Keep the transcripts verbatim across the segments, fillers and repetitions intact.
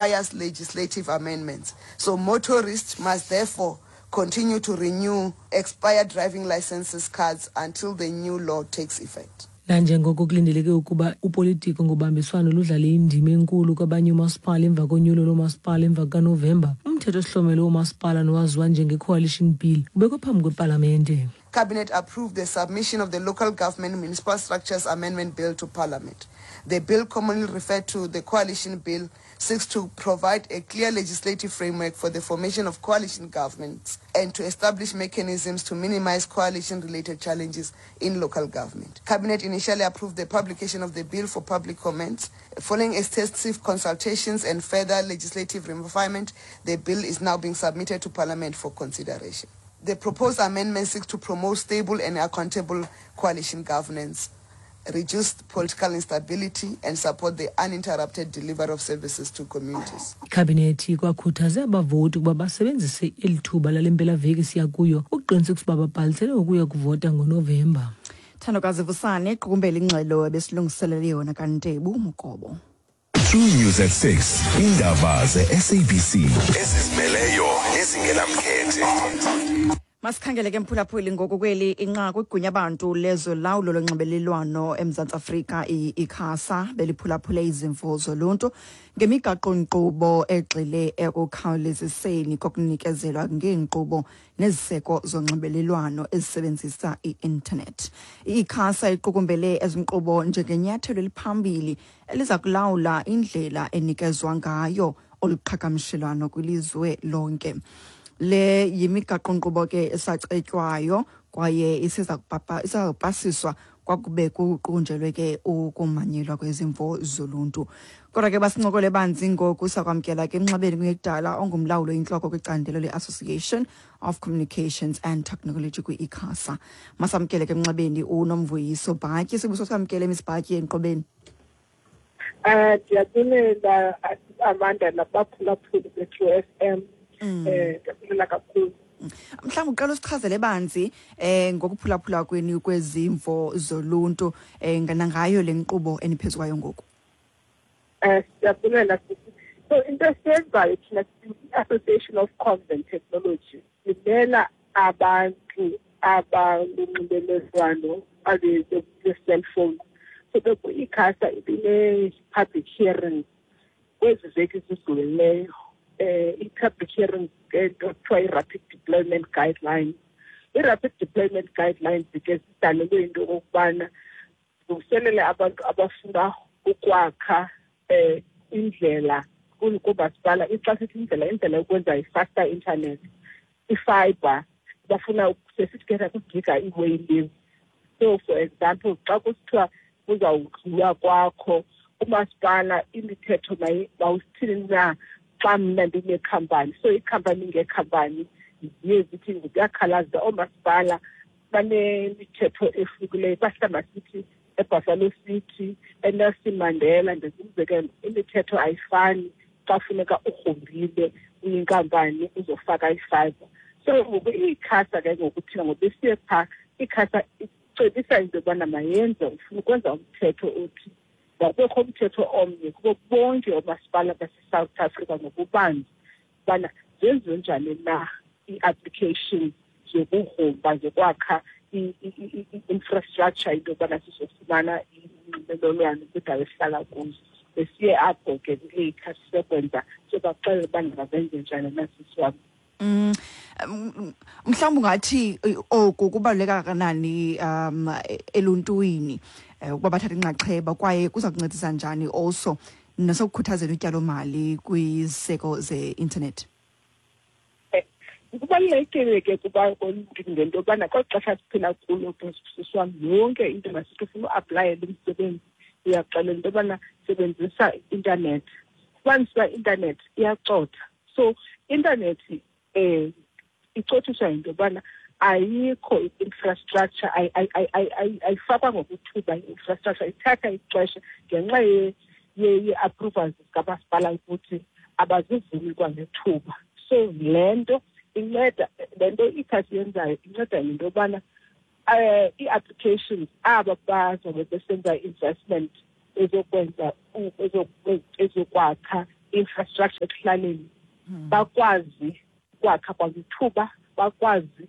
Requires legislative amendments. So motorists must therefore continue to renew expired driving licenses cards until the new law takes effect. Nanjengoko kulindeleke ukuba upolitiko ngobambiswano ludlale indima enkulu kwabanye oomasipala emva konyulo loomasipala emva kukaNovemba, umthetho osihlomelo woomasipala nowaziwa njenge-Coalition Bill ubekwe phambi kwepalamente. Cabinet approved the submission of the Local Government Municipal Structures Amendment Bill to Parliament. The bill, commonly referred to the Coalition Bill, seeks to provide a clear legislative framework for the formation of coalition governments and to establish mechanisms to minimize coalition-related challenges in local government. Cabinet initially approved the publication of the bill for public comments. Following extensive consultations and further legislative refinement, the bill is now being submitted to Parliament for consideration. The proposed amendment seeks to promote stable and accountable coalition governance, reduce political instability, and support the uninterrupted delivery of services to communities. Ikhabinethi ikwakhuthaze abavoti ukuba basebenzise eli thuba lale mpelaveki siya kuyo ukuqinisekisa ukuba babhalisele ukuya kuvota ngoNovemba. Thandokazi Vusane qukumbela ingxelo ebesilungiselele yona kaNtebu Mukobo. True News at six, indaba ze-S A B C ezizimeleyo nezingenamkhethe. Masikhangele ke, mphulaphuli, ngoku kweli inqaku. Igunya abantu lezolawulo lonxibelelwano eMzantsi Afrika, i-ICASA, beliphulaphule izimvo zoluntu ngemigaqo-nkqubo egxile ekukhawuleziseni kokunikezelwa ngeenkqubo neziseko zonxibelelwano ezisebenzisa i-intanethi. I-ICASA iqukumbele ezi nkqubo njengenyathelo eliphambili eliza kulawula indlela enikezwa ngayo olu qhagamshelwano kwilizwe lonke. Le yimigaqo-nkqubo ke esacetywayo kwaye iseza kupapa iseza kupasiswa kwakube kuqunjelwe ke ukumanyelwa kwezimvo zoluntu. Kodwa ke basincokole banzi ngoku, sakwamkela ke emnxebeni kungekudala ongumlawuli oyintloko kwicandelo le-Association of Communications and Technology kwi-ICASA. Masamkele ke emnxebeni uNomvuyiso Bhatyi. Sibuso, samkele, Miss Bhatyi, enkqubeni. Eh ndiyabulela, Amanda, nabaphulaphuli be-True F M. Eh ndiyabulela kakhulu. Mhlawumbi uqala usichazele banzi eh ngokuphulaphula kwenu kwezimvo zoluntu eh nangayo le nkqubo eniphezu kwayo ngoku. Eh siyabulela sisi. So into esiyenzayo thina, i-Association of Comms and Technology, simela abantu abalunxibelelwano abe-cellphone. So beku-ICASA ibine-public hearing kwezi veki zidlulileyo, eh i-public hearing ngento kuthiwa i-rapid deployment guidelines. I-rapid deployment guidelines ke zidalelwe into okokubana zilungiselele abantu abafuna ukwakha eh indlela koomasipala. Xa sithi indlela, indlela yokwenza i-faster internet, i-fibre, bafuna sesithi ke kugiga ii-wayleave. So for example, xa kusithiwa kuzawudlula kwakho umasipala, imithetho mawusithini na xa mna ndinekhampani? So iikhampani ngeekhampani ziye zithi ziyakhalaza, oomasipala banemithetho ehlukileyo. Bahlamba sithi eBuffalo City, eNelson Mandela, ndenza umzekelo, imithetho ayifani xa funeka ugrumbile uyinkampani uzofaka i-fibre. So ngoku i-ICASA ke ngoku thina ngoku besiye phaa, i-ICASA icebisa into yobana mayenze, ufuna ukwenza umthetho othi makubekho umthetho omnye kubo bonke oomasipala baseSouth Africa ngokubanzi, ubana zenziwe njani na ii-applications zokugrumba, zokwakha i-infrastructure, into yobana sizofumana unxibelelwano kwiindawo esihlala kuzo. Besiye apho ke kule-ICASA siyokwenza, siyobaxelela ubana mabenze njani na, sisi wam. Mm, mhlawumbi ungathi oku kubaluleke kangakanani um eluntwini ukuba bathathe inxaxheba, kwaye kuza kuncedisa njani also nasekukhuthazeni utyalomali kwiziseko ze-intanethi? Kubalulekile ke kuba ngento yobana kweli xesha siphila kulo, sisi wam, yonke into, masithi ufuna uaplayela umsebenzi, uyaxelela into yobana sebenzisa i-intanethi. Fumanise uba i-intanethi iyacotha. So intanethi um icothiswa yinto yobana ayikho i-infrastructure, ayifakwa ngokuthuba i-infrastructure, ithatha ixesha ngenxa ye-approvals zikamasipala ukuthi abazivumi kwangethuba. So le nto inceda, le nto i-ICASA yenzayo inceda ngento yobana um ii-applications, aba bazobe besenza i-investment ezokwenza, ezokwakha infrastructure ekuhlaleni bakwazi ukwakha kwangithuba, bakwazi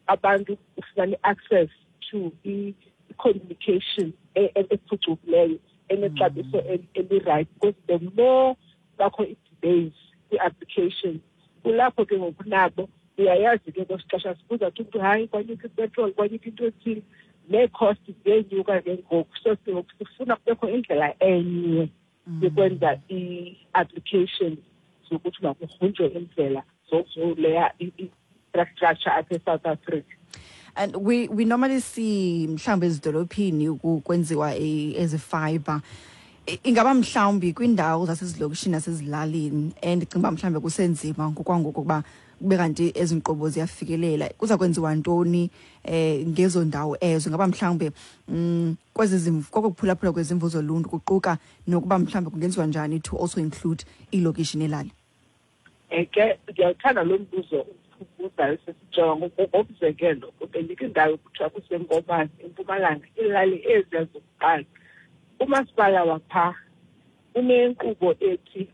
abantu ufumana access to i-communication ephucukileyo enexabiso eli-right. Because the more bakho i-delays kwi-application, kulapho ke ngoku nabo uyayazi ke kwesixesha sibuza kuthi umntu hayi kwanyuka ipetroli, kwanyuka into ethile, nee-cost ziyenyuka ke ngoku. So sifuna kubekho indlela enye yokwenza i-application zokuthi makugrunjwe indlela zokuleya i-infrastructure apha eSouth Africa. And we, we normally see mhlawumbi ezidolophini kwenziwa ezi fiber. Ingaba mhlawumbi kwiindawo zasezilokishini nasezilalini, and ndicinga uba mhlawumbi kusenzima ngokwangoku ukuba kube kanti ezi nkqubo ziyafikelela, kuza kwenziwa ntoni eh ngezo ndawo ezo? Ingaba mhlawumbi mm, kwezi zimvo, kokuphulaphula kwezimvo zoluntu kuquka nokuba mhlawumbi kungenziwa njani to also include iilokishi nelali? Ke ndiyawuthanda lo mbuzo ubuzayo sesijonga. Ngokomzekelo, bendikho indawo kuthiwa kuseNkomane eMpumalanga, iilali eziya zokuqala. Umasipala wapha unenkqubo ethi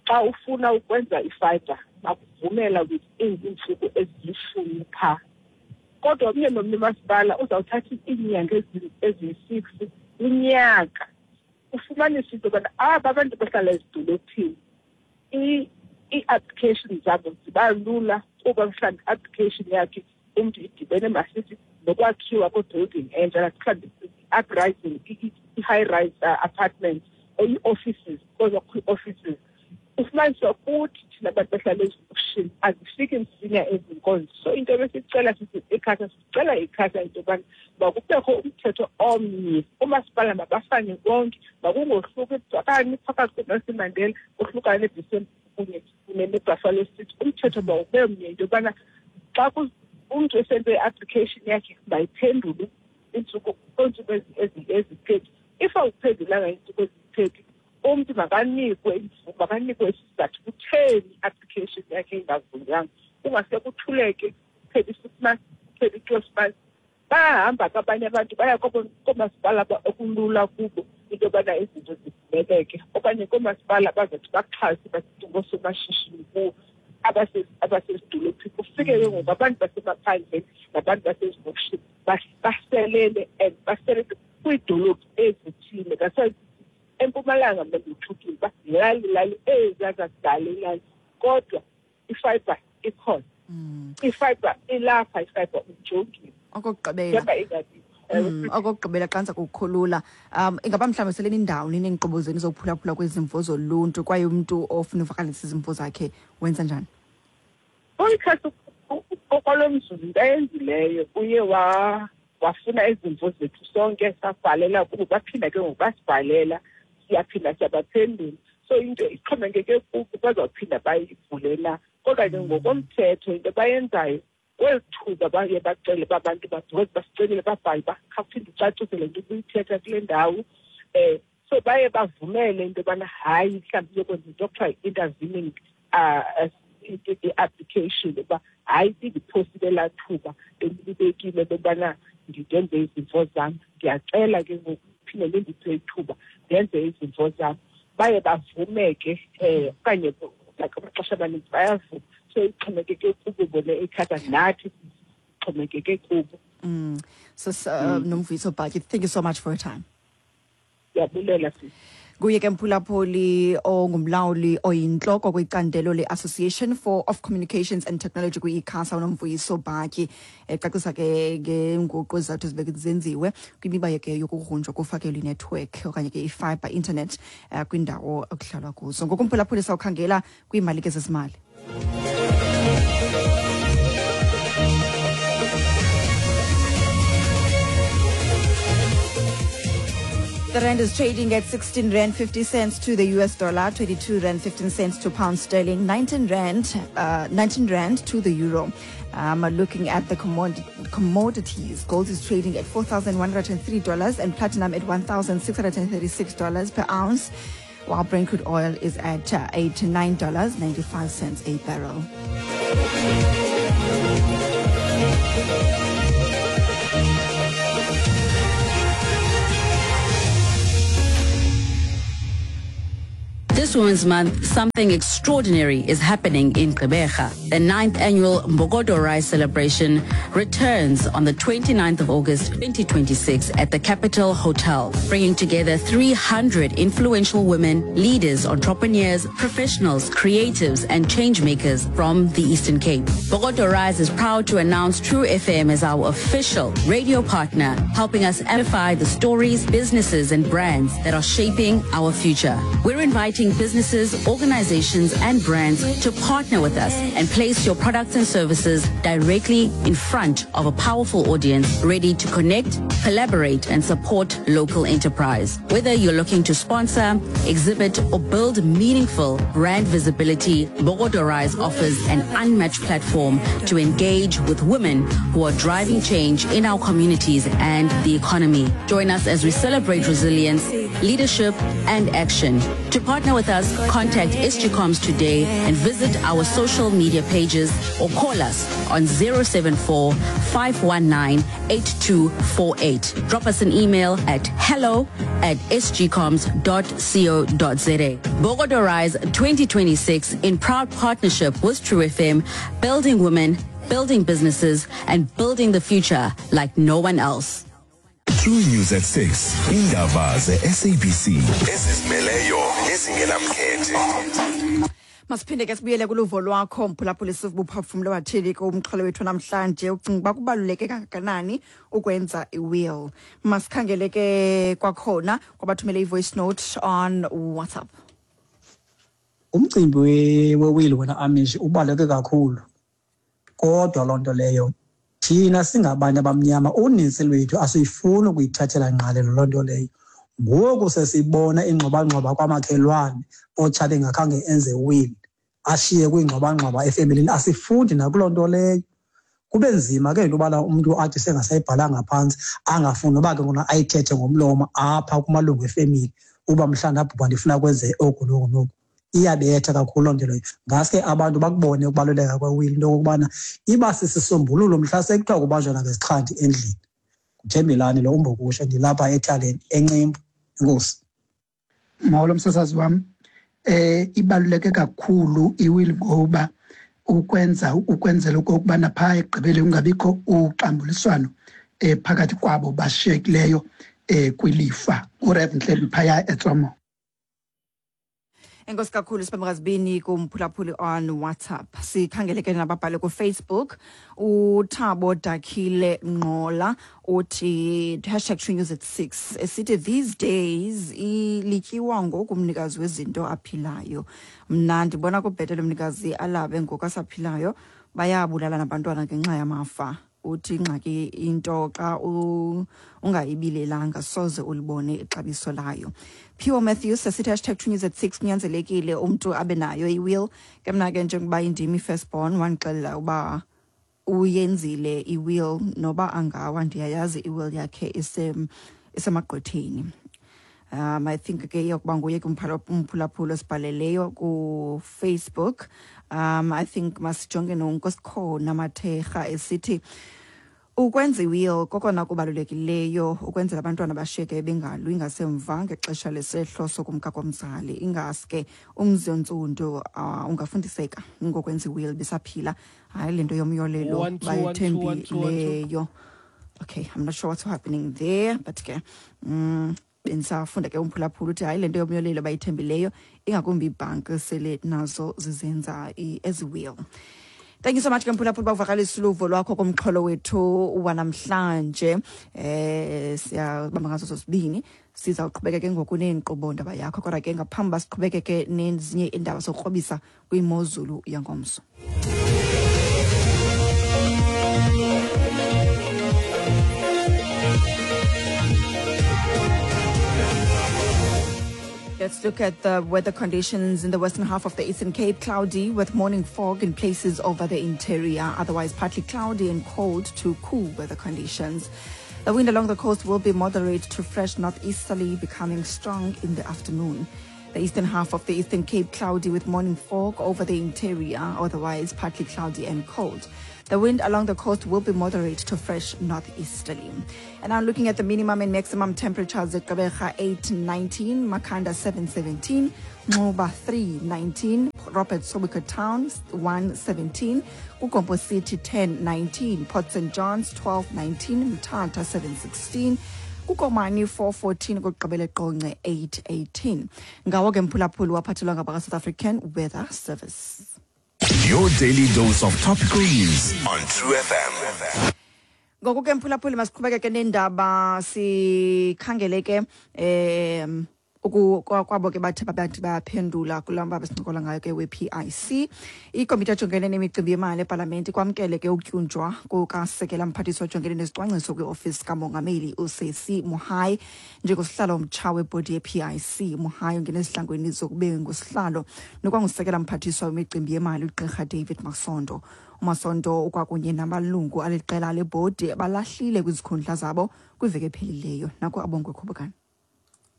xa ufuna ukwenza ifiber bakuvumela within iintsuku ezilishumi phaa. Kodwa omnye nomnye umasipala uzawuthatha iinyanga eziyi-six unyaka. Ufumanise into yobana aba abantu bahlala ezidolophini ii-application zabo ziba lula, kuba mhlawumbi i-application yakhe umntu idibene masithi nokwakhiwa kwe-building entsha, mhlawumbi i-uprising, i-high-rise apartments or ii-offices, because kukho ii-offices. Ufumanisa kuthi thina abantu bahlala ezilokishini azifiki msinya ezi nkonzo. So into ebesicela sithi ICASA, sicela ICASA into yobana makubekho umthetho omnye, oomasipala mabafane bonke, makungohluki okanye phakathi kweNelson Mandela kohlukane neB C M kunye kunye neBuffalo City. Umthetho mawube mnye into yobana xa umntu esenze i-application yakhe mayiphendulwe iintsuku kweentsuku ezi-thirty. If awuphendulanga iintsuku ezi-thirty, umntu makanikwe makanikwe isizathu kutheni i-application yakhe ingavunywanga. Kungase kuthuleke kuphele i-six months, kuphele i-twelve months. Bayahamba ke abanye abantu baya koomasipala okulula kubo into yobana izinto zivumeleke, okanye koomasipala bazothi baxhase basithi ngoosomashishini kubo abasezidolophini. Kufike ke ngoku abantu basemaphandleni nabantu basezilokishini baselele and baselele kwiidolophu ezithile. That's why eMpumalanga mna ndithukile uba lali lali eziya zakudala ilali, kodwa ifiber ikhona, ifiber ilapha, ifiber ujongile. Okokugqibela, okokugqibela xa ndiza kukukhulula, um ingaba mhlawumbi sele nindawo nineenkqubo zenu zokuphulaphula kwezimvo zoluntu, kwaye umntu ofuna uvakalisa izimvo zakhe wenza njani? ICASA okwalo mzuzu into ayenzileyo uye wafuna izimvo zethu sonke, sabhalela kubo, baphinda ke ngoku basibhalela, siyaphinda siyabaphendula. So into ixhomekeke kubo bazawuphinda bayivule na. Kodwa ke ngokomthetho into abayenzayo kweli thuba baye bacele uba abantu because basicelile babhale uba khawuphinde ucacise le nto ubuyithetha kule ndawo. Um so baye bavumele into yobana hayi mhlawumbi iyokwenza into okuthiwa yi-intervening uh i-application, uba hayi indiphosile elaa thuba belibekile lokubana ndenze izimvo zam, ndiyacela ke ngoku phinde lindiphe ithuba ndenze izimvo zam. Baye bavume ke um okanye like amaxesha amaninzi bayavuma. So ixhomekeke kubo bona ICASA, nathi sixhomekeke kubo. Mm. So uh, mm. Nomvuyiso Batyi, thank you so much for your time. Ndiyabulela sisi. Nguye ke mphulaphuli ongumlawuli oyintloko kwicandelo le-Association for of Communications and Technology kwi-ICASA, uNomvuyiso Batyi, ecacisa ke ngeenguqu ezizawuthi zibe zenziwe kwimiba ke yokugrunjwa kufakelwa inetwork okanye ke i-fiber internet uh, kwindawo ekuhlalwa kuzo. Ngoku mphulaphuli sawukhangela kwiimali ke zezimali. The rand is trading at sixteen rand fifty cents to the U S dollar, twenty-two rand fifteen cents to pound sterling, nineteen rand, uh, nineteen rand to the euro. Um, looking at the commod- commodities, gold is trading at four thousand one hundred three dollars and platinum at one thousand six hundred thirty-six dollars per ounce, while Brent crude oil is at uh, eighty-nine dollars and ninety-five cents a barrel. This Women's Month, something extraordinary is happening in Gqeberha. The ninth annual Mbokodo Rise celebration returns on the twenty-ninth of August twenty twenty-six at the Capital Hotel, bringing together three hundred influential women, leaders, entrepreneurs, professionals, creatives, and change makers from the Eastern Cape. Mbokodo Rise is proud to announce True F M as our official radio partner, helping us amplify the stories, businesses, and brands that are shaping our future. We're inviting businesses, organizations, and brands to partner with us and place your products and services directly in front of a powerful audience ready to connect, collaborate, and support local enterprise. Whether you're looking to sponsor, exhibit, or build meaningful brand visibility, Mbokodo Rise offers an unmatched platform to engage with women who are driving change in our communities and the economy. Join us as we celebrate resilience, leadership, and action. To partner with us, contact S G Comms today and visit our social media pages or call us on zero seven four, five one nine, eight two four eight. Drop us an email at hello at s g comms dot co dot z a. Mbokodo Rise twenty twenty-six in proud partnership with True F M, building women, building businesses, and building the future like no one else. True News at six. Indaba ze-S A B C. Ezizimeleyo nezingenamkhethe. Masiphinde ke sibuyele kuluvo lwakho mphulaphuli sibuphefumlo wathini kumxholo wethu namhlanje, ucinga uba kubaluleke kangakanani ukwenza i-will. Masikhangele ke kwakhona kwabathumele i-voice note on WhatsApp. Umcimbi we-will wena Amish ubaluleke kakhulu, kodwa loo nto leyo thina singabantu abamnyama uninzi lwethu asiyifuni ukuyithathela ngqalelo loo nto leyo. Ngoku sesibona ingxobangxoba kwamakhelwane otshate engakhange enze will, ashiye kwingxobangxoba efemelini, asifundi nakuloo nto leyo. Kube nzima ke into yobana umntu athi sengasayibhalanga phantsi angafuni noba ke ngona ayithethe ngomlomo apha kumalungu efemeli uba mhlawumbi abhubha ndifuna kwenze oku noku noku. Iyabetha kakhulu loo nto leyo. Ngaske abantu bakubone ukubaluleka kwe-will, into yokokubana iba sisisombululo mhla sekuthiwa kubanjwana ngezixhanti endlini. Nguthembelani lo umbokusha, ndilapha ethaleni eNcimbu. Enkosi. Molo msasazi wam. Eh ibaluleke kakhulu i-will ngoba ukwenza ukwenzela okokubana phaa ekugqibeleni kungabikho uxambuliswano eh phakathi kwabo bashiyekileyo eh kwilifa. URev Ntlemi phaya eTsomo. Enkosi kakhulu sibambakazibini kumphulaphuli on WhatsApp. Sikhangele ke nababhale ku-Facebook. uThabo Dakhile Ngqola uthi hashtag True News at six. Esithi these days ilityiwa ngoku umnikazi wezinto aphilayo. Mna ndibona kubhetele umnikazi alabe ngoku asaphilayo, bayabulala nabantwana ngenxa yamafa. Uthi ingxaki into xa ungayibilelanga soze ulibone ixabiso layo. Pure Matthews esithi hashtag True News at six, kunyanzelekile umntu abe nayo i-will. Ke mna ke njengoba indim i-firstborn wandixelela uba uyenzile i-will, noba angawa ndiyayazi i-will yakhe isemagqwetheni. Um, I think ke iyokuba nguye ke umphulaphuli osibhaleleyo ku-Facebook. Um, I think masijonge noNkosikhona Mathekga esithi ukwenza i-will kokona kubalulekileyo ukwenzela abantwana bashiyeke bengalwi ngasemva ngexesha lesehlo sokumka komzali. Ingaske umzi ontsundu uh, ungafundiseka ngokwenza i-will besaphila. Hayi le nto yomyolelo bayithembileyo. Okay, I'm not sure what's happening there, but ke mm, bendisafunda ke umphulaphula uthi hayi le nto yomyolelo bayithembileyo, ingakumbi ibhanki sele nazo zizenza ezi will. Thank you so much Mphulaphula bavakalisa uluvo lwakho kumxholo wethu wanamhlanje. Eh siyabamba ngaso sosibini. Sizawuqhubeka ke ngoku neenkqubo ndaba yakho, kodwa ke ngaphambi basiqhubeke ke nezinye iindaba zokukrobisa kwimozulu yangomso. Let's look at the weather conditions in the western half of the Eastern Cape. Cloudy with morning fog in places over the interior. Otherwise, partly cloudy and cold to cool weather conditions. The wind along the coast will be moderate to fresh northeasterly, becoming strong in the afternoon. The eastern half of the Eastern Cape, cloudy with morning fog over the interior. Otherwise, partly cloudy and cold. The wind along the coast will be moderate to fresh northeasterly. And now looking at the minimum and maximum temperatures at Gqeberha eight nineteen, Makhanda seven seventeen, Nxuba three nineteen, Robert Sobukwe Town one seventeen, KuGompo City ten nineteen, Port Saint John's twelve nineteen, Mthatha seven sixteen, kuKomani four fourteen, kugqibele Qonce eight eighteen. Ngawo ke mphulaphuli waphathelwa ngabaka South African Weather Service. Your daily dose of topical news on True F M. Ngoku ke mphulaphuli masiqhubeke ke nendaba sikhangele ke em kwabo ke bathe bathi bayaphendula kulamba besincokola ngayo ke we-P I C. Ikomiti ejongene nemicimbi yemali epalamente kwamkele ke ukutyunjwa kukasekela mphathiswa ojongene nezicwangciso kwiofisi kamongameli uSesi Mohaye njengosihlalo omtsha webhodi ye-P I C. Mohaye ungene ezihlangweni zokube ngusihlalo nokwangusekela mphathiswa wemicimbi yemali uGqirha David Masondo. uMasondo ukwakunye namalungu aliqela lebhodi balahlile kwizikhundla zabo kwiveki ephelileyo. Nako Abongwe Khubukane.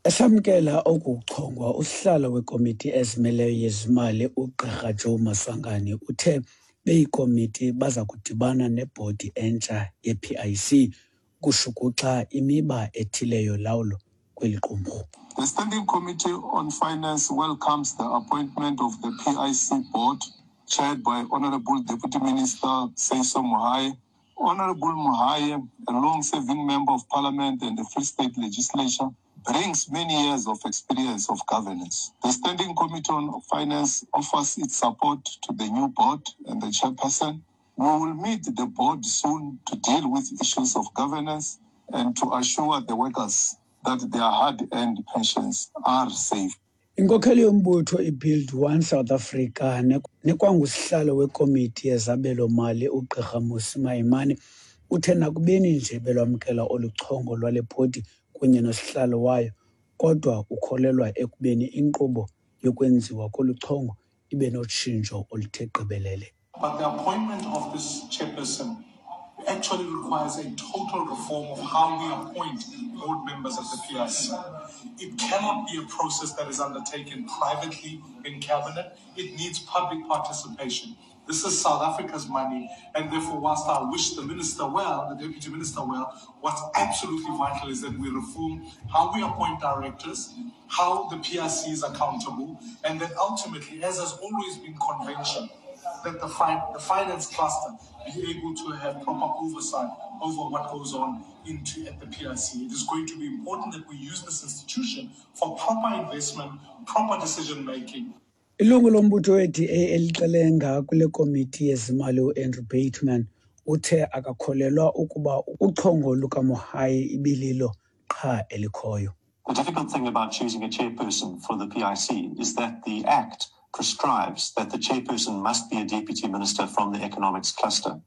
Esamkela okuchongwa usihlalo wekomiti ezimeleyo yezimali uGqirha Joe Maswanganyi uthe beyikomiti baza kudibana nebhodi entsha ye-P I C kushukuxa imiba ethile yolawulo kweli qumrhu. The Standing Committee on Finance welcomes the appointment of the P I C board chaired by Honorable Deputy Minister Seiso Mohaye. Honorable Mohaye, a long-serving member of Parliament and the Free State Legislature, brings many years of experience of governance. The Standing Committee on Finance offers its support to the new board and the chairperson. We will meet the board soon to deal with issues of governance and to assure the workers that their hard-earned pensions are safe. Inkokheli yombutho iBuild One South Africa nekwangusihlalo wekomiti yezabelo mali uGqirha Mmusi Maimane uthe nakubeni nje belwamkela olu chongo lwale bhodi kunye nosihlalo wayo, kodwa ukholelwa ekubeni inkqubo yokwenziwa kolu chongo ibe notshintsho oluthe gqibelele. But the appointment of this chairperson actually requires a total reform of how we appoint board members at the P I C. It cannot be a process that is undertaken privately in cabinet. It needs public participation. This is South Africa's money, and therefore, whilst I wish the minister well, the deputy minister well, what's absolutely vital is that we reform how we appoint directors, how the P I C is accountable, and that ultimately, as has always been convention, that the, fi- the finance cluster be able to have proper oversight over what goes on into at the P I C. It is going to be important that we use this institution for proper investment, proper decision making. Ilungu lombutho we-D A elixelenga kule komiti yezimali uAndrew Bateman uthe akakholelwa ukuba uchongo lukaMohaye ibililo qha elikhoyo. The difficult thing about choosing a chairperson for the P I C is that the Act prescribes that the chairperson must be a deputy minister from the economics cluster,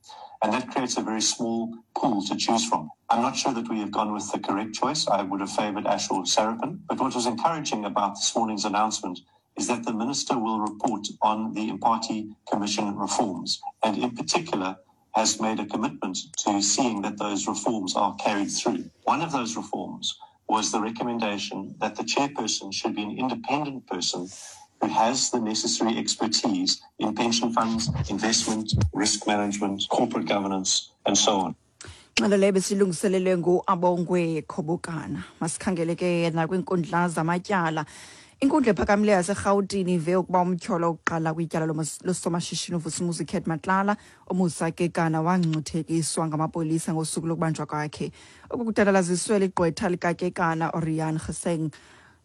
and that creates a very small pool to choose from. I'm not sure that we have gone with the correct choice. I would have favoured Ashor Sarapin, but what was encouraging about this morning's announcement is that the minister will report on the Mpati Commission reforms, and in particular has made a commitment to seeing that those reforms are carried through. One of those reforms was the recommendation that the chairperson should be an independent person who has the necessary expertise in pension funds, investment, risk management, corporate governance, and so on. Ngxelo leyo besilungiselelwe nguAbongwe Khobokana. Masikhangele ke nakwiinkundla zamatyala. Inkundla ephakamileyo yaseRhawutini ive ukuba umtyholo wokuqala kwityala losomashishini uVusimuzi Cat Matlala uMusa Kekana wangcuthekiswa ngamapolisa ngosuku lokubanjwa kwakhe. Oku kudadalaziswe ligqwetha likaKekana uRian Geseng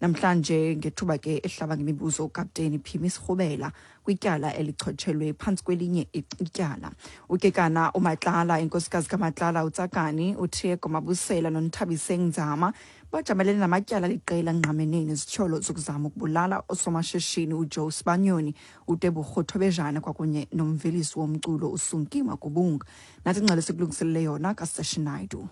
namhlanje ngethuba ke ehlaba ngemibuzo uKapteni Phimi Sirhubela kwityala elichotshelwe phantsi kwelinye ityala. UKekana uMatlala, inkosikazi kaMatlala uTsakani, uTheko Mabusela noNthabiseng Nzama bajamelene namatyala liqela ngqamene nezityholo zokuzama ukubulala osomashishini uJoe Sibanyoni, uTebogo Thobejane kwakunye nomvelisi womculo uSunki Makubunga. Nathi ingxelo sikulungiselele yona kaSeshi Naidu.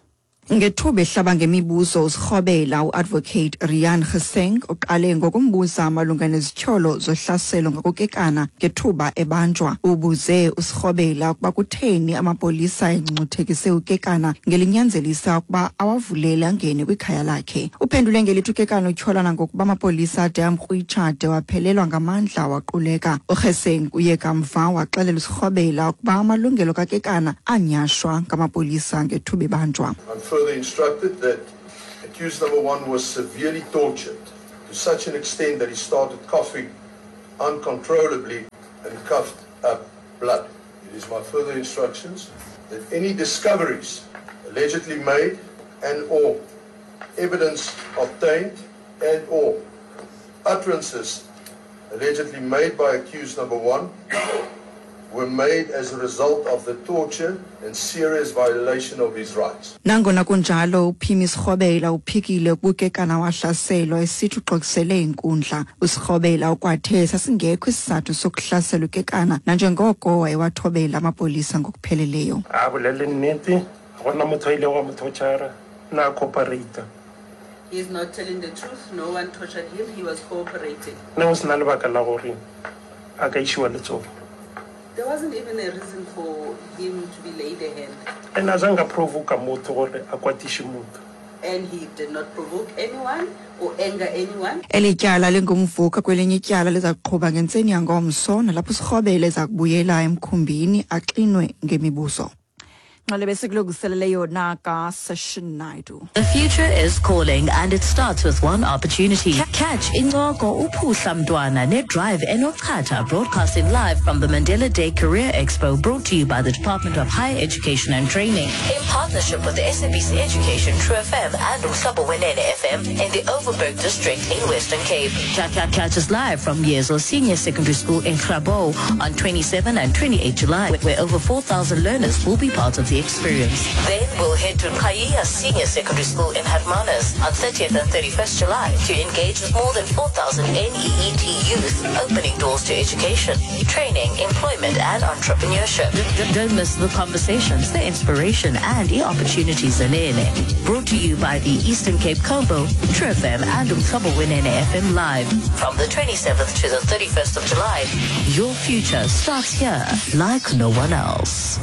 Ngethuba ehlaba ngemibuzo uSirhobela uadvocate Rian Geseng uqale ngokumbuza malunga nezityholo zohlaselo ngokukekana ngethuba ebanjwa. Ubuze uSirhobela ukuba kutheni amapolisa engcuthekise ukekana ngelinyanzelisa ukuba awavulele angene kwikhaya lakhe. Uphendule ngelithi ukekana utyholana ngokuba amapolisa ade amkrwitsha de waphelelwa ngamandla waquleka. UGeseng uye kamva waxelela uSirhobela ukuba amalungelo kakekana anyashwa ngamapolisa ngethuba ebanjwa. Further instructed that accused number one was severely tortured to such an extent that he started coughing uncontrollably and coughed up blood. It is my further instructions that any discoveries allegedly made and or evidence obtained and or utterances allegedly made by accused number one were made as a result of the torture and serious violation of his rights. Nangona kunjalo, uPhimi Sirhobela uphikile ukukekana wahlaselwa, esithi uxokisele inkundla. USirhobela ukwathe sasingekho isizathu sokuhlasela ukekana nanjengoko wayewathobela amapolisa ngokupheleleyo. A bolele nnete, ga gona motho a ileng wa mo torture, na cooperate. He is not telling the truth. No one tortured him. He was cooperating. Ne go sena lebaka la gore a ka isiwa letsogo. There wasn't even a reason for him to be laid a hand. And azange a provoke motho gore a kwatise motho. And he did not provoke anyone or anger anyone. Eli tyala lingumvuka kwelinye ityala liza kuqhuba ngentseni yangomso, nalapho uSirhobela eza kubuyela emkhumbini axinwe ngemibuzo. Nxale besikulungiselele yona kaSession Naidu. The future is calling, and it starts with one opportunity. Catch Incoko Uphuhla Mntwana ne-Drive Enochatha, broadcasting live from the Mandela Day Career Expo, brought to you by the Department of Higher Education and Training in partnership with the S A B C Education, True F M and Umhlobo Wenene F M in the Overberg District in Western Cape. Catch us live from Yezo Senior Secondary School in Grabouw on twenty-seven and twenty-eight July, where over four thousand learners will be part of the experience. Then we'll head to Qhayiya Senior Secondary School in Hermanus on thirtieth and thirty-first July to engage with more than four thousand N E E T youth, opening doors to education, training, employment and entrepreneurship. Don't miss the conversations, the inspiration and the opportunities in N E. Brought to you by the Eastern Cape Combo, True F M and Umhlobo Wenene F M Live from the twenty-seventh to the thirty-first of July. Your future starts here like no one else.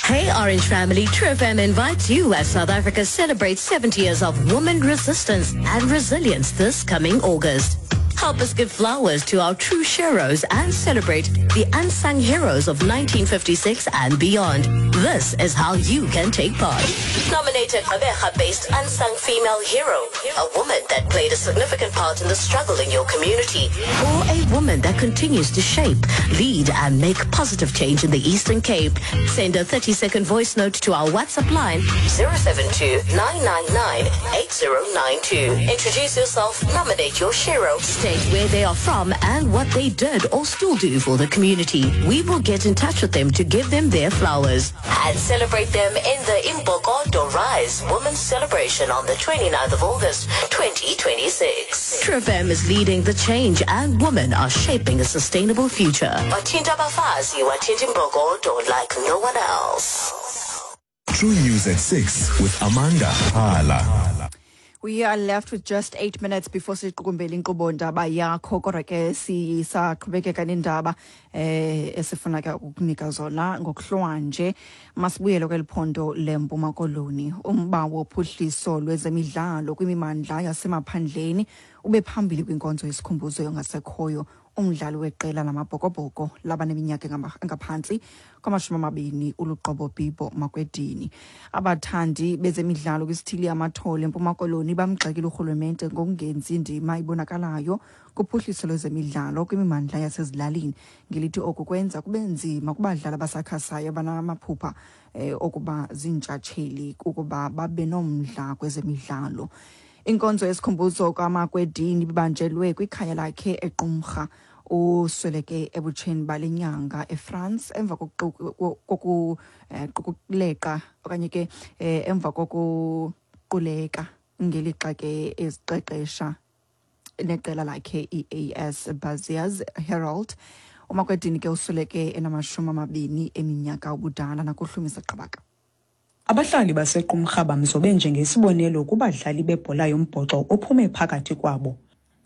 Hey Orange Family, True F M invites you as South Africa celebrates seventy years of woman resistance and resilience this coming August. Help us give flowers to our true heroes and celebrate the unsung heroes of nineteen fifty-six and beyond. This is how you can take part. Nominate a Gqeberha-based unsung female hero, a woman that played a significant part in the struggle in your community, or a woman that continues to shape, lead and make positive change in the Eastern Cape. Send a thirty-second voice note to our WhatsApp line zero seven two, nine nine nine, eight zero nine two. Introduce yourself, nominate your hero, state where they are from and what they did or still do for the community. We will get in touch with them to give them their flowers and celebrate them in the Imbokodo Rise Women's Celebration on the twenty-ninth of August, twenty twenty-six. True F M is leading the change and women are shaping a sustainable future. Wathinta abafazi, wathinta imbokodo like no one else. True News at six with Amanda Hala. We are left with just eight minutes before siqukumbele inkqubo ndaba yakho, kodwa ke sisaqhubekeka nendaba eh esifuna ke ukukunika zona ngokuhlwanje. Masibuyele kweli phondo leMpuma Koloni. Umba wophuhliso lwezemidlalo kwimimandla yasemaphandleni ube phambili kwinkonzo yesikhumbuzo yongasekhoyo umdlali weqela lamabhokobhoko labaneminyaka engaphantsi kwamashumi amabini uLuqobo Bibo Makwedini. Abathandi bezemidlalo kwisithili Amathole eMpuma Koloni bamgxekile urhulumente ngokungenzi indima ibonakalayo kuphuhliso lwezemidlalo kwimimandla yasezilalini, ngelithi oku kwenza kube nzima kubadlali abasakhasayo abanamaphupha eh, okuba ziintshatsheli ukuba babe nomdla kwezemidlalo. Inkonzo yesikhumbuzo kaMakwedini ibanjelwe kwikhaya lakhe eQumrha. Usweleke ebutsheni bale nyanga eFrance emva kokuqukuleqa okanye ke emva kokuquleka ngelixa ke eziqeqesha neqela lakhe i A S Bazias Herald. uMakwedini ke usweleke enamashumi amabini eminyaka ubudala nakuhlumisa qabaka. Abahlali baseQumrha bamzobe njengesibonelo kubadlali bebhola yombhoxo ophume phakathi kwabo.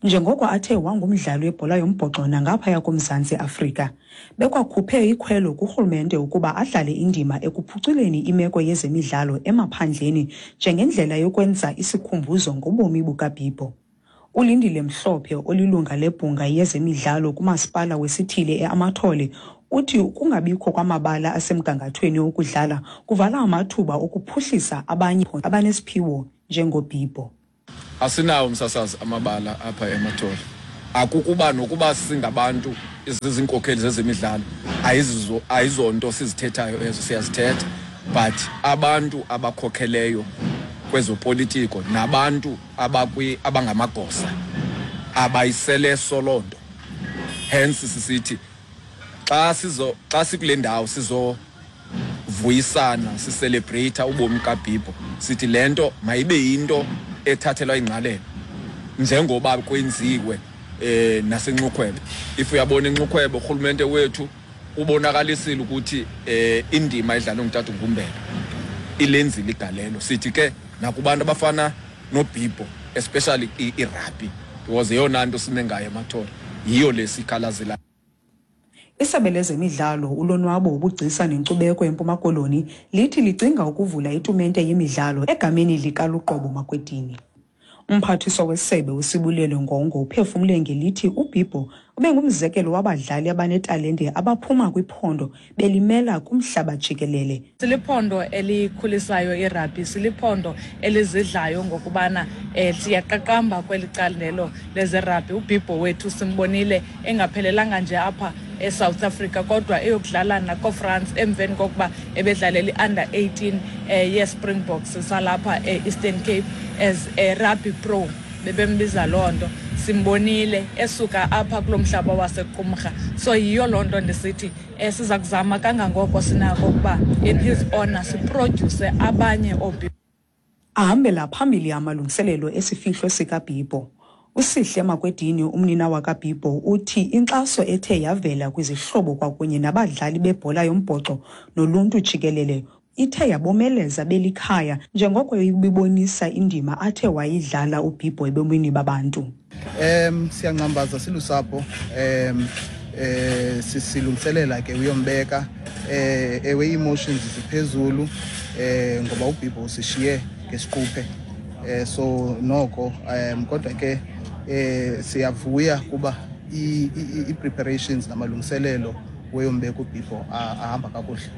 Njengoko athe wangumdlali webhola yombhoxo nangaphaya koMzantsi Afrika, bekwakhuphe ikhwelo kurhulumente ukuba adlale indima ekuphuculeni imeko yezemidlalo emaphandleni njengendlela yokwenza isikhumbuzo ngobomi bukaBibo. Ulindile Mhlophe olilunga lebhunga yezemidlalo kumasipala wesithili eAmathole uthi ukungabikho kwamabala asemgangathweni okudlala kuvala amathuba okuphuhlisa abanye abanesiphiwo njengoBibo. Asinawo umsasazi amabala apha eMathole. Akukuba nokuba singabantu izinkokheli zezemidlalo ayizo ayizonto sizithethayo ezo siyazithetha, but abantu abakhokheleyo kwezopolitiko nabantu abakwi abangamagosa abayisele solonto. Hence sisithi xa sizo xa sikule ndawo sizo vuyisana sicelebrate ubomi kaBhibho, sithi lento mayibe into ethathelwa ingqalelo njengoba kwenziwe eh nasenxukhwebe. If uyabona inxukhwebe urhulumente wethu ubonakalisile ukuthi eh indima edlalwa ngutata uNgumbela ilenzile igalelo. Sithi ke nakubantu abafana noBhibho especially irugby because eyona nto sime ngayo eMathole yiyo lesikhalazela. Isebe lezemidlalo, ulonwabo, ubugcisa nenkcubeko eMpuma Koloni lithi licinga ukuvula itumente yemidlalo egameni likaLuqobo Makwedini. Umphathiswa wesebe uSibulelo Ngongo uphefumle ngelithi uBhibho ubengumzekelo wabadlali abanetalente abaphuma kwiphondo belimela kumhlaba jikelele. Siliphondo elikhulisayo irugby, siliphondo elizidlayo ngokubana eh, siyaqaqamba kweli candelo lezerugby. UBhibho wethu simbonile engaphelelanga nje apha eSouth Africa kodwa eyokudlala nako-France emveni kokuba ebedlalela i-under eighteen eh, ye-Springboks salapha e-Eastern Cape as a rugby pro, bebembiza loo nto. Simbonile esuka apha kulo mhlaba waseQumrha. So yiyo loo nto ndisithi eh, siza kuzama kangangoko sinako ukuba in his honor siproduce abanye ooBhibho. Ahambela phambili amalungiselelo esifihlo sikaBhibho. USihle Makwedini, umnina wakaBhibho, uthi inkxaso ethe yavela kwizihlobo kwakunye nabadlali bebhola yombhoxo noluntu jikelele ithe yabomeleza belikhaya njengoko ibibonisa indima athe wayidlala uBhibho ebomini babantu. Em siyangcambaza silusapho, em eh sisilungiselela ke uyombeka, eh ewe emotions ziphezulu eh ngoba uBhibho usishiye ngesiquphe. Eh so noko em kodwa ke eh siyavuya kuba i preparations namalungiselelo weyombeka uBhibho ahamba kakuhle.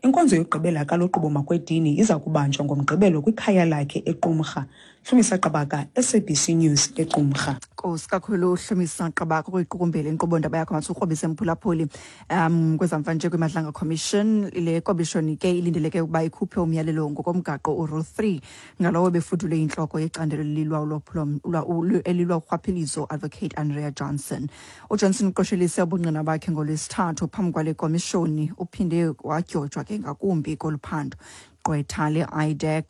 Inkonzo yokugqibela kaLuqobo Makwedini iza kubanjwa ngoMgqibelo kwikhaya lakhe eQumrha. Hlumisa Qabaka, S A B C News eQumrha. Nkosi kakhulu Hlumisa Qabaka ukuyiqukumbela inkqubo ndaba yakho mathi mphulaphuli. Um kwezamva nje kwiMadlanga Commission, le commission ke ilindeleke ukuba ikhuphe umyalelo ngokomgaqo uRule three ngalowo befudule inhloko yecandelo lilwa ulwaphulo elilwa urhwaphilizo Advocate Andrea Johnson. UJohnson uqoshelise ubungqina bakhe ngolwesithathu phambi kwale commission, uphinde wadyojwa ke ngakumbi koluphando. Gqwetha le-I D E C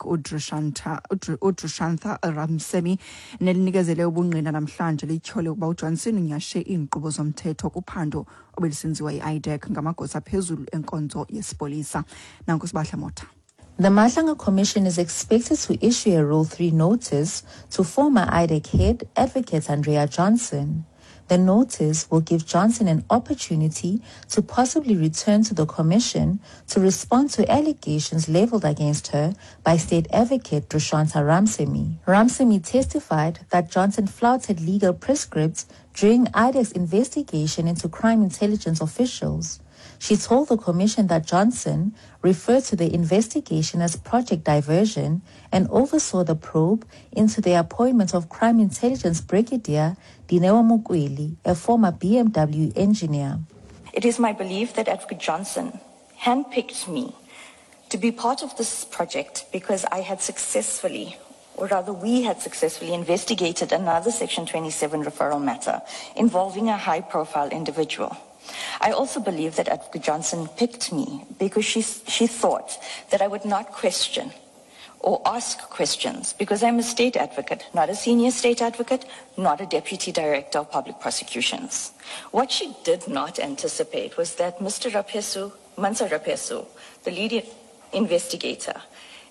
uDrushantha Ramsemi nelinikezele ubungqina namhlanje lityhole ukuba uJohnson unyashe iinkqubo zomthetho kuphando obelisenziwa yi-I D E C ngamagosa aphezulu enkonzo yesipolisa. Nanku Sibahla Motha. The Madlanga Commission is expected to issue a Rule three notice to former I D E C head Advocate Andrea Johnson. The notice will give Johnson an opportunity to possibly return to the commission to respond to allegations leveled against her by State Advocate Drushantha Ramsemi. Ramsemi testified that Johnson flouted legal prescripts during I D E C's investigation into crime intelligence officials. She told the commission that Johnson referred to the investigation as Project Diversion and oversaw the probe into the appointment of Crime Intelligence Brigadier Dineo Mokwele, a former B M W engineer. It is my belief that Advocate Johnson handpicked me to be part of this project because I had successfully, or rather we had successfully investigated another Section twenty-seven referral matter involving a high-profile individual. I also believe that Advocate Johnson picked me because she, she thought that I would not question or ask questions because I'm a state advocate, not a senior state advocate, not a deputy director of public prosecutions. What she did not anticipate was that Mister Rapesu, Mansa Rapesu, the lead investigator,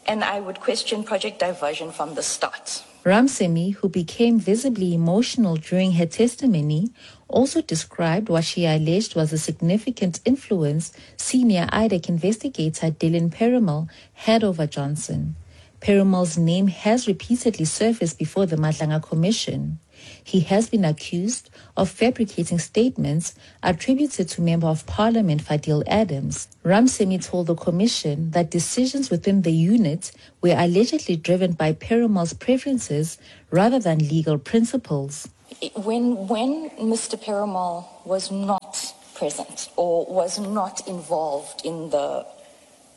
and I would question Project Diversion from the start. Ramsemi, who became visibly emotional during her testimony, also described what she alleged was a significant influence senior I D E C investigator Dylan Perumal had over Johnson. Perumal's name has repeatedly surfaced before the Madlanga Commission. He has been accused of fabricating statements attributed to Member of Parliament Fadil Adams. Ramsamy told the commission that decisions within the unit were allegedly driven by Perumal's preferences rather than legal principles. When, when Mister Perumal was not present or was not involved in the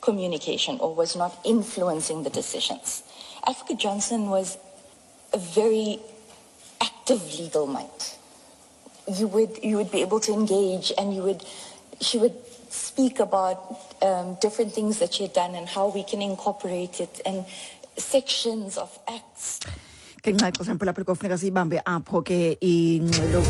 communication or was not influencing the decisions, Advocate Johnson was a very active legal mind. You would, you would be able to engage, and you would, she would speak about um, different things that she had done and how we can incorporate it and sections of acts. Ngenxa yexesha mphulaphuli kofuneka siyibambe apho ke ingxelo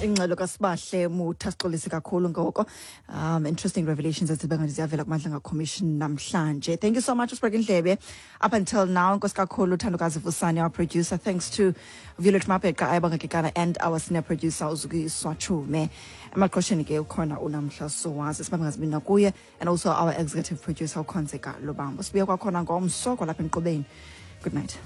ingxelo kaSibahle Mutha. Sixolise kakhulu ngoko. Um interesting revelations ezibe ziyavela kuMadlanga Commission namhlanje. Thank you so much usibeke indlebe up until now. Nkosi kakhulu Thandokazi Vusani, our producer. Thanks to Violet Mapeka, Ayabonga Kekana, and our senior producer Uzukiswa Chume. Emaqosheni ke ukhona uNamhla Sowazi, sibambe ngazibini kuye, and also our executive producer uKhonzeka Lobambo. Sibuye kwakhona ngomso kwalapha enkqubeni. Good night.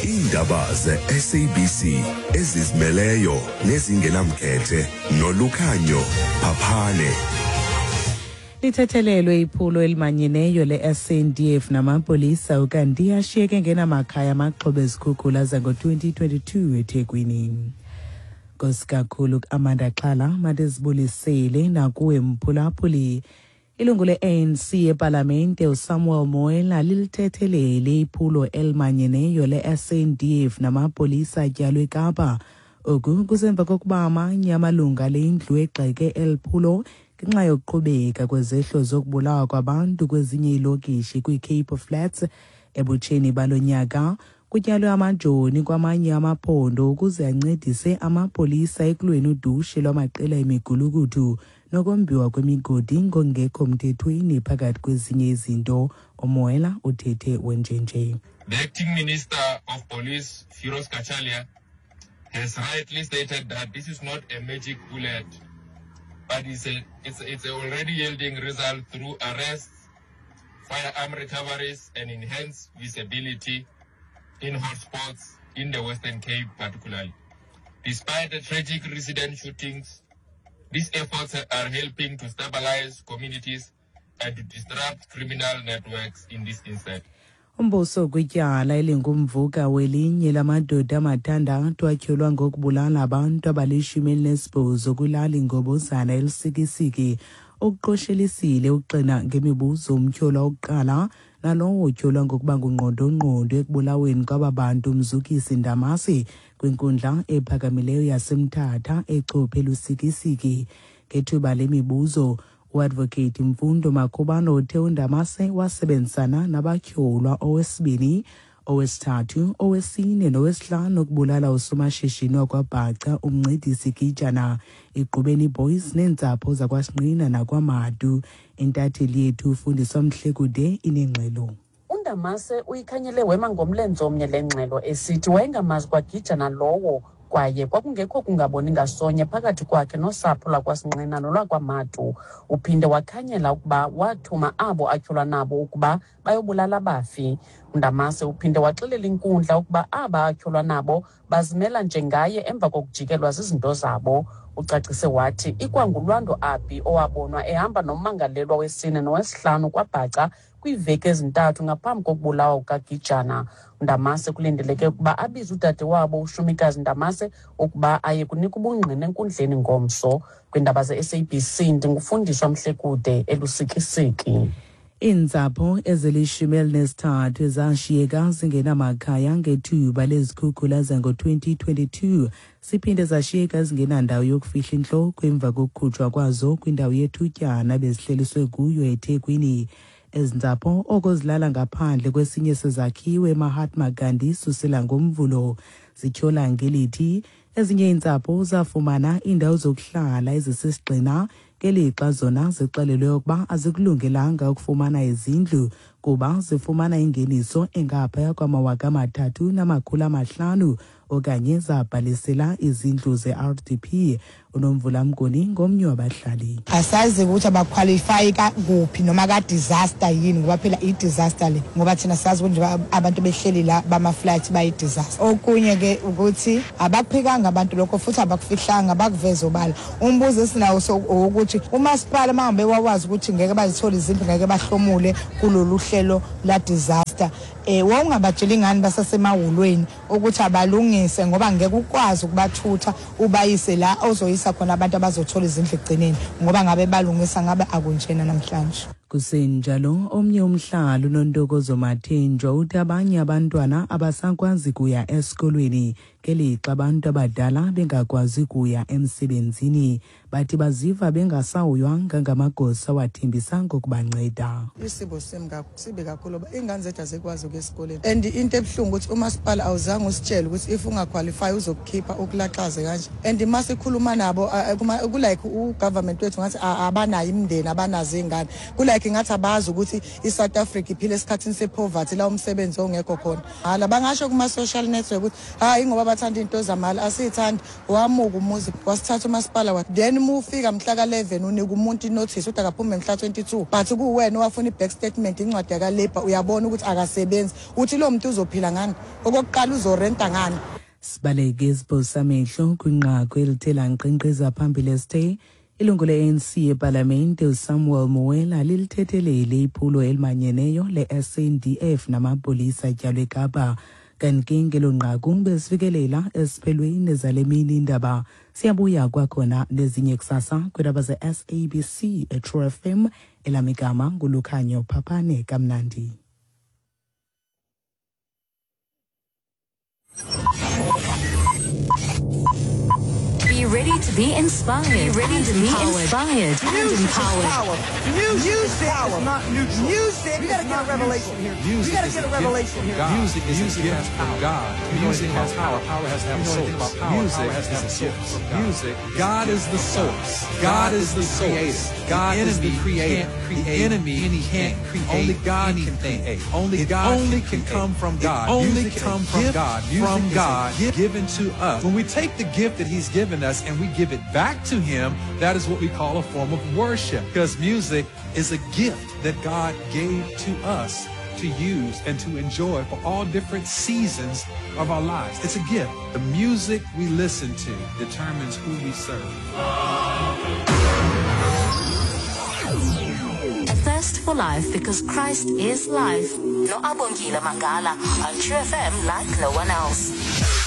Iindaba ze-S A B C ezizimeleyo nezingenamkhethe nolukhanyo Phaphane. Lithethelelwe iphulo elimanyeneyo le-S N D F namapolisa ukanti ashiyeke ngenamakhaya amaxhoba ezikhukhula zango twenty twenty-two eThekwini. Nkosi kakhulu Amanda Xhala, mandizibulisele nakuwe mphulaphuli. Ilungu le-A N C epalamente uSamuel Moela lilithethelele iphulo elimanyeneyo le-S N D F namapolisa atyalwe eKapa. Oku kusemva kokuba amanye amalungu ale ndlu egxeke eli phulo ngenxa yokuqhubeka kwezehlo zokubulawa kwabantu kwezinye iilokishi kwiCape Flats. Ebutsheni balo nyaka kutyalwe amajoni kwamanye amaphondo ukuze ancedise amapolisa ekulweni udushe lwamaqela emigulukudu nokombiwa kwemigodi ngokungekho mthethweni phakathi kwezinye izinto. Umoela uthethe wenjenje. The acting minister of police, Firoz Kachalia, has rightly stated that this is not a magic bullet, but it's a, it's, it's already yielding result through arrests, firearm recoveries, and enhanced visibility in hotspots in the Western Cape particularly. Despite the tragic resident shootings, these efforts are helping to stabilize communities and to disrupt criminal networks in this instance. Umbuso kwityala elingumvuka welinye lamadoda amathandathu atyholwa ngokubulala abantu abalishumi elinesibhozo kwilali Ngobozana eLusikisiki ukuqoshelisile uxina ngemibuzo umtyholwa wokuqala nalowo utyholwa ngokuba ngungqondongqondo ekubulaweni kwaba bantu Mzukisi Ndamase kwinkundla ephakamileyo yaseMthatha eChophe eLusikisiki. Ngethuba lemibuzo uadvocate Mfundo Makhubalo uthe uNdamase wasebenzisana nabatyholwa owesibini, owesithathu, owesine nowesihlanu ukubulala usomashishini wakwaBhaca uMncedisi Gijana, iGqubeni Boys neentsapho zakwaSinqina nakwaMadu. Intatheli yethu uFundiswa Mhlekude inengxelo. UNdamase uyikhanyele wema ngomlenze omnye le ngxelo esithi wayengamazi kwaGijana lowo kwaye kwakungekho kungaboni ngasonye phakathi kwakhe nosapho lwakwaSinqina nolwakwaMadu. Uphinde wakhanyela ukuba wathuma abo atyholwa nabo ukuba bayobulala abafi. UNdamase uphinde waxelela inkundla ukuba aba atyholwa nabo bazimela njengaye emva kokujikelwa zizinto zabo. Ucacise wathi ikwanguLwando Abi owabonwa ehamba nommangalelwa wesine nowesihlanu kwaBhaca kwiiveki ezintathu ngaphambi kokubulawa kukaGijana. uNdamase kulindeleke ukuba abize udade wabo uShumikazi Ndamase ukuba aye kunika ubungqina enkundleni ngomso. Kwiindaba ze-S A B C ndingufundiswa Mhlekude eLusikisiki. Iintsapho ezilishumi elinesithathu zashiyeka zingenamakhaya ngethuba lezikhukhula zango twenty twenty-two siphinde zashiyeka zingenandawo yokufihla intloko emva kokukhutshwa kwazo kwindawo yethutyana bezihleliswe kuyo eThekwini. Ezi ntsapho oko zilala ngaphandle kwesinye sezakhiwo eMahatma Gandhi susela ngoMvulo. Zityhola ngelithi ezinye iintsapho zafumana iindawo zokuhlala ezisisigxina ngelixa zona zixelelwe ukuba azikulungelanga ukufumana izindlu kuba zifumana ingeniso engaphaya kwamawaka amathathu namakhulu amahlanu okanye zabhalisela izindlu ze-R D P. UNomvula Mnguni ngomnye wabahlali. Asazi ukuthi abaqualify kuphi noma ka disaster yini, ngoba phela i-disaster le, ngoba thina sazi ukuthi abantu behleli la bama-flight bayi-disaster. Okunye ke ukuthi abakuphikanga abantu lokho futhi abakufihlanga, bakuveza obala. Umbuzo esinawo ukuthi umasipala mangabe wawazi ukuthi ngeke bazithole izindlu, ngeke bahlomule kulolu hlelo la disaster, eh wawungabatsheli ngani basasemahholweni ukuthi abalungise, ngoba ngeke ukwazi ukubathutha ubayise la ozoyisa khona abantu abazothola izindlu egcineni, ngoba ngabe balungisa ngabe akunjena namhlanje. Kusenjalo, omnye umhlali uNontokozo Mathenjwa uthi abanye abantwana abasakwazi kuya esikolweni ngelixa abantu abadala bengakwazi kuya emsebenzini. Bathi baziva bengasahoywanga ngamagosa wathembisa ngokubanceda. Isimo sibi kakhulu, ingane zethu azikwazi ukuya esikoleni. And into ebuhlungu ukuthi umasipala awuzange usitshele ukuthi if ungaqualify uzokukhipha ukulaxaze kanje. And masikhuluma nabo kulike ugovernment wethu ngathi abanayo imindeni, abanazo ingane. Kulike ngathi abazi ukuthi iSouth Africa iphila esikhathini sepoverty la umsebenzi ongekho khona. Hala bangasho kuma social network ukuthi hayi ngoba bathanda into zamali, asithandi. Wamuka umuzi wasithatha umasipala wa then mufika mhla ka eleven unika umuntu inotice ukuthi akaphume mhla twenty-two, but kuwena owafuna i-back statement, incwadi yaka labor, uyabona ukuthi akasebenzi, uthi lo muntu uzophila ngani? Okokuqala uzorenta ngani? Sibaleke isibhosamehlo kwinqaku elithe lanqenqeza phambili esithe ilungu le-A N C epalamente uSamuel Moela lilithethelele iphulo elimanyeneyo le-S N D F namapolisa atyalwe eKapa. Kanti ke ngelo nqaku besifikelela esiphelweni zale mini indaba. Siyabuya kwakhona nezinye kusasa kwiindaba ze-S A B C eTrue F M. Elamigama nguLukhanyo Phaphane kamnandi. Be ready to be inspired. Be ready to be inspired and empowered. Music is not neutral. Music. We gotta get a revelation here. We gotta get a revelation here. Music is a gift from God. Music has power. Power has to have a source. Music is a gift from God. Music. God is the source. God is the source. God is the creator. The enemy can't create. Only God can create. Only God only can come from God. Only come from God. From God given to us. When we take the gift that He's given us and we give it back to Him, that is what we call a form of worship, because music is a gift that God gave to us to use and to enjoy for all different seasons of our lives. It's a gift. The music we listen to determines who we serve. A thirst for life, because Christ is life. No Abongile Mangala on True F M like no one else.